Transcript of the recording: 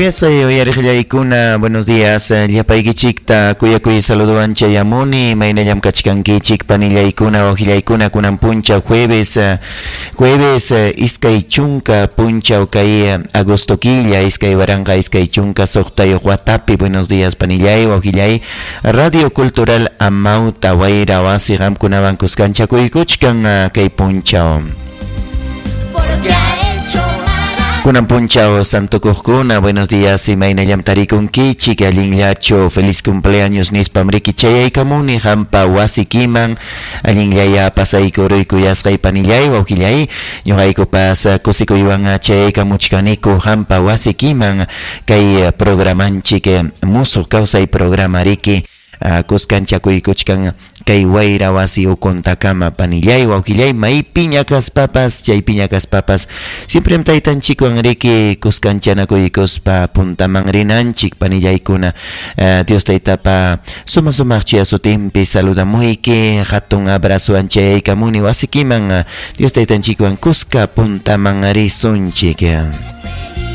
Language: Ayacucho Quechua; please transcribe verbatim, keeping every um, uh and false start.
Kuyasqay uyariqllaykuna, buenos días. Llapaykichikta kuyakuy saludowan chayamuni, imaynallam kachkankichik panillaykuna, wawillaykuna, kunan punchaw jueves, jueves iskay chunka punchaw kay agosto killa iskay waranqa iskay chunka suqtayuq watapi. Buenos días panillay, wawillay. Radio Cultural Amauta Wayra Wasi qamkunawan kuskanchakuykuchkan kay punchaw. Kunan punchaw santukuqkuna, buenos días, imaynallam tarikunkichik, allinllachu, feliz cumpleaños nispam riki chayaykamuni hampa wasikiman, allinllaya pasaykuruy kuyasqay panillay, wawqillay, ñuqaykupas kusikuywan chayaykamuchkaniku hampa wasikiman kay programanchik musuq kawsay programa riki kuskanchakuykuchkan kay wayra wasi ukuntakama panillay, wawqillay, maypiña kaspapas, chaypiña kaspapas, siempre taytanchikwan riki kuskanchanakuykuspa puntaman rinanchik panillaykuna. uh, Dios taytapa suma sumaq chuya sutinpi saludamuyki, hatun abrazowan chayaykamuni wasikiman, uh, Dios taytanchikwan kuska puntaman risunchik.